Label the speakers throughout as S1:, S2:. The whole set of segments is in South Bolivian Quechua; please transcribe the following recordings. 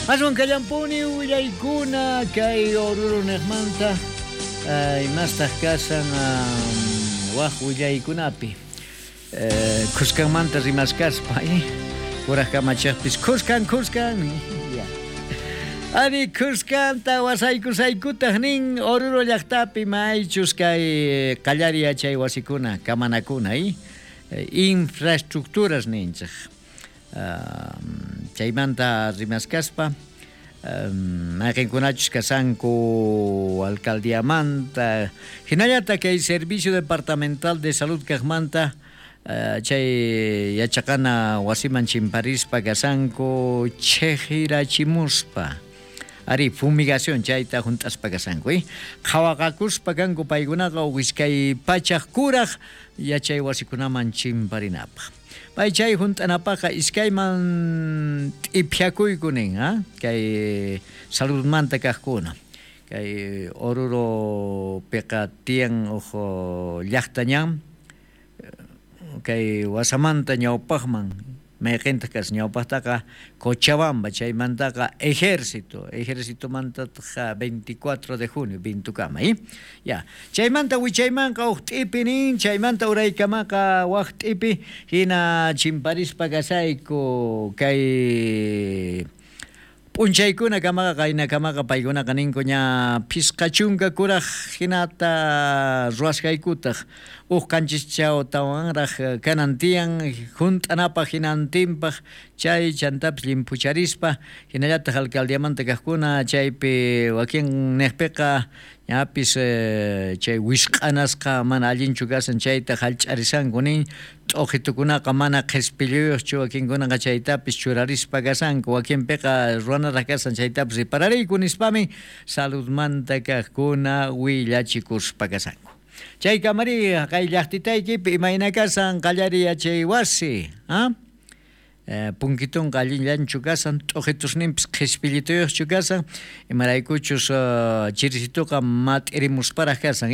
S1: Aswan kallampuni willaykuna kay Oruro niqmanta imastaq kashan waj willaykunapi khuskanmanta rimaskaspa kuraj kamachejpis khuskan khuskan Ari khuskanta wasaykusaykutaj nin Oruro llajtapi maychus kay qallari yachay wasikuna kamanakuna infraestructuras ninchej chaymanta rimaskaspa mayqinkunachus kashanku alcaldiamanta hinallataq kay Servicio Departamental de Salud kaqmanta chay yachaqana wasiman chimparispa kashanku chejirachimuspa ari fumigación chayta junt'aspa kashanku qhawaqakuspa kanku paykunaqa iskay pachaj kuraj yachay wasikunaman chimparinapaq pay chay junt'anapaqqa iskayman t'iphiakuyku nin kay saludmanta kaqkuna kay Oruropiqa tiyan uj llaqta ñan kay wasamanta ñawpaqman mayqintaq kashan ñawpaqtaqa Cochabamba chaymantaqa ejército ejercitomantataq 24 de junio bintukama ya chaymanta wichaymanqa uj t'ipi nin chaymanta uraykamaqa waj t'ipi hina chimparispa kasayku kay p'unchaykuna kamaqa qaynakamaqa paykunaqa ninku ña phisqa chunka kuraj hinata ruwasqaykutaq uj qanchischawtawanraq kanan tiyan junt'anapaq hinantinpaq chay chantapis llimphucharispa hinallataq alcaldiamanta kaqkuna chaypi wakin niqpiqa ñapis chay wisq'anasqa mana allinchu kashan chayta hallch'arisanku nin t'uqitukunaqa mana qhispilluyuqchu wakinkunaqa chaytapis churarispa kashanku wakinpiqa ruwanaraq kashan chaytapis riparariyku nispami saludmanta kaqkuna willachikuspa kashanku. Chay kamari kay llaqtitaykipi imayna kashan qallari yachay wasi punkitunqa allinllanchu kashan t'uqitusninpis qhispillituyuqchu kashan imaraykuchus chirisituqa mat'irimusparaq kashan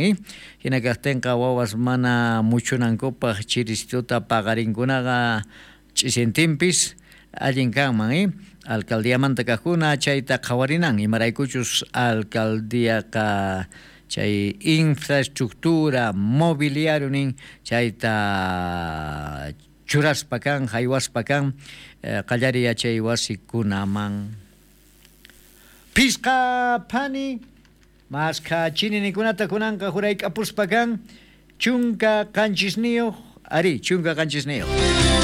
S1: hina kaqtinqa wawas mana muchunankupaq chirisituta paqarinkunaqa ch'isintinpis allin kanman alcaldiamanta kaqkuna chayta qhawarinan imaraykuchus alcaldiaqa chay infraestructura mobiliario nin chayta churaspa kan haywaspa kan qallari yachay wasikunaman phisqa phani maskha chininikunata kunanqa jurayk'apuspa kan 17 ari 17.